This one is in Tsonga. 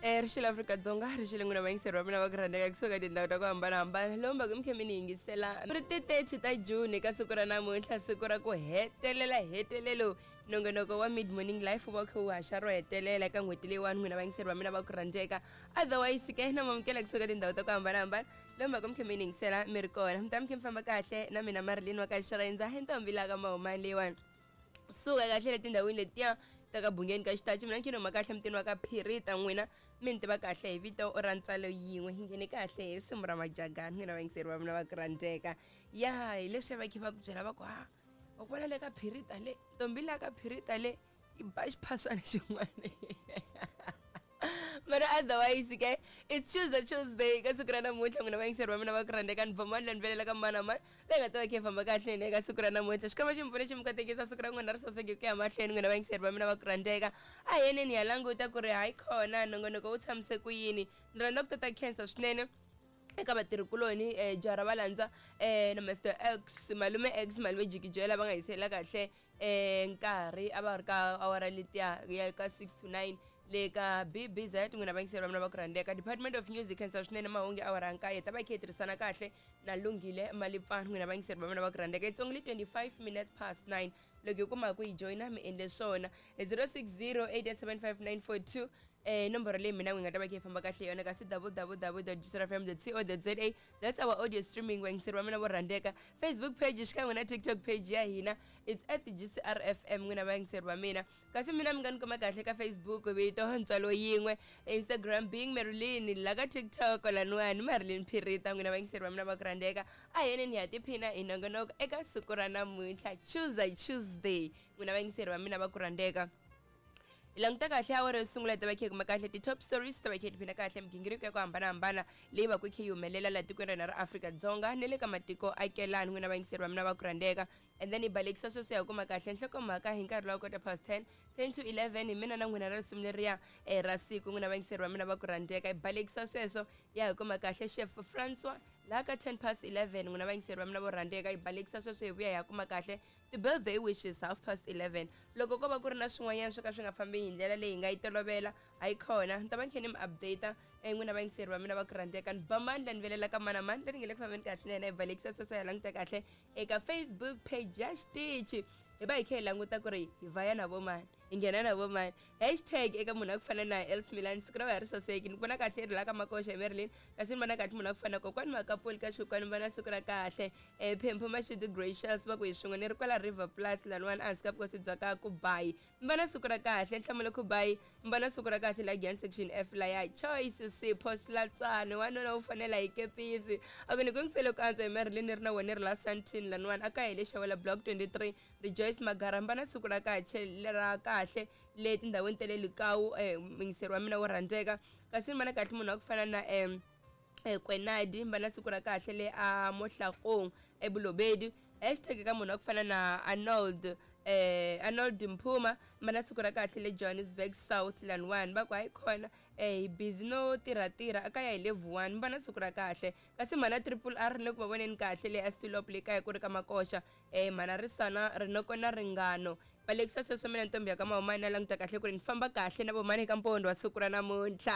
Rixile Afrika-Dzonga, rixile n'wina vayingiseri va mina va ku rhandzeka kusuka tindhawu ta ku hambanahambana lomu va ku mi khe mi ni yingisela ri ti 30 ta June ka siku ra namuntlha, siku ra ku hetelela hetelelo nongonoko wa Mid Morning Life wu va wu kha wu haxa ro hetelela eka n'hweti leyiwani, n'wina vayingiseri va mina va ku rhandzeka. Otherwise ke na mamukela kusuka tindhawu ta ku hambanahambana lomu va ku mi khe mi ni yingisela mi ri kona, mi ta mi khe mi famba kahle na mina Marilyn wa ka Xirendza hi ntombi la ka Mahumani leyiwani. Suka kahle le tindhawini letiya ta ka Bungeni ka Xitachi, mina ni ma kahle mutini wa ka Phirita, n'wina mi ni tiva kahle hi vito ra ntswalo yin'we. Hi nghene kahle hi risimu ra Majagani, n'wina vayingiseri va mina va ku rhandzeka. Ya hi leswi va khe va ku byela va ku ha wa ku vona le ka Phirita le ntombi la ka Phirita le yi ba xiphaswana xin'wana, mara otherwise ke it's Tuesday, Tuesday ka siku ra namuntlha, n'wina vayingiseri va mina va ku rhandzeka. Ni bvamani la ni velela ka mani na mani leyi nga ta va khe famba kahle ni eka siku ra namuntlha. Xikwembu xi mi pfune, xi mi katekisa, siku ra n'wina ri saseke ku ya mahlweni, n'wina vayingiseri va mina va ku rhandzeka. A hi yeneni hi ya languta ku ri hayi khona nongonoko wu tshamise ku yini. Ni rhandza ku tata khensa swinene eka vatirhikuloni, jaha ra valandza, na Mr X, malume X, malume Jikijela, va nga hisela kahle nkarhi a va ri ka awara letiya ya ka 6 to 9 le ka BBZ. N'wina vayingiseri va mina va ku rhandzeka, Department of Music, khensa swinene. Mahungu awara ya nkaye ta va khe hi tirhisana kahle na Lunghile Malipfani. N'wina vayingiseri va mina va ku rhandzeka, it's only 25 minutes past 9. Loko hi kuma ku yi joyina mi endle swona 060 8875942, nomboro leyi mina n'wi nga ta va khe yi famba kahle yona, kasi www.gcrfm.co.za, that's our audio streaming. Vayingiseri va mina vo rhandzeka, Facebook page xikan'we na TikTok page ya hina, it's at GCRFM, n'wina vayingiseri va mina. Kasi mina mi nga ni kuma kahle ka Facebook, vito Ntswalo Yin'we, Instagram being Marilyn, la ka TikTok laniwani Marilyn Phirita. N'wina vayingiseri va mina va ku rhandzeka, a hi yeneni hi ya tiphina hi nongonoko eka siku ra namuntlha, Tuesday, Tuesday. N'wina vayingiseri va mina va ku rhandzeka, hi languta kahle awara yo sungula, hi ta va khe hi kuma kahle ti-top stories, ta va khe hi tiphina kahle migingiriko ya ku hambanahambana leyi va ku khe yi humelela laha tikweni ra hina ra Afrika-Dzonga ni le ka matiko akelani, n'wina vayingiseri va mina va ku rhandzeka. And then hi balekisa sweswo ya kuma kahle nhlokomhaka hi nkarhi lowa quarter past 10, 10 to 11, hi mina na n'wina ra risimu leriya ra siku. N'wina vayingiseri va mina va ku rhandzeka, hi balekisa sweswo ya hi kuma kahle Chef Francois laha ka 10 past 11. N'wina vayingiseri va mina vo rhandzeka, hi balekisa sweswo hi vuya hi ya kuma kahle ti-birthday wishes half past 11. Loko ko va ku ri na swin'wanyana swo ka swi nga fambi hi ndlela leyi hi nga yi tolovela, hayi khona ni ta va ni khe ni mi update, n'wina vayingiseri va mina va ku rhandzeka. Ni ba mandla ni velela ka mana mani leri nge le ku fambeni kahle na yena. Hi balekisa sweswo ya languta kahle eka Facebook page ya xitichi, hi va hi khe hi languta ku ri hi vaya na vo mani, hi nghena na vo mani. Hashtag eka munhu a ku fana na Els Milan, siku ra wena ri saseki, ni vona kahle ri la ka Makoxa hi Marilyn. Kasi ni vona kahle munhu a ku fana na kokwani Makapuli ka Xikwani, vona siku ra kahle. Phempho Mashudu Gracious va ku hi swin'we ni ri kwala River Plus laniwani ehansi ka vukosi bya ka Kubayi, mi vona siku ra kahle. Nhlamulo Kubayi, mi vona siku ra kahle la Giyani section F laya. Choice Sipho Swilatswana, wanuna wu fanela hi kepisi, a ku ni ku yingisele ku antswa hi Marilyn, ni ri na wena ri la Santin laniwani a ka hi le Xawela block 23. Rejoice Magara, mbana siku ra kahle ra kahle le tindhawini ta le Likawu, muyingiseri wa mina wo rhandzeka. Kasi ni vona kahle munhu wa ku fana na Kwenadi, mbana siku ra kahle le a Mohlakong eBulobedi. Hashtag ka munhu wa ku fana na Arnold, Arnold Mphuma, mbana siku ra kahle le Johannesburg South laniwani. Va ku hayi khona, hi busy no tirha tirha a kaya hi le Vuwani, mbana siku ra kahle. Kasi mhana Triple R le ku va voneni kahle le Astulop le kaya ku ri ka Makoxa, mhana Risana Rinoko na Ringano balekisa sweswo. Mina ntombi ya ka Mahumani na languta kahle ku ri ni famba kahle na vomani eka mpondo wa siku ra namuntlha.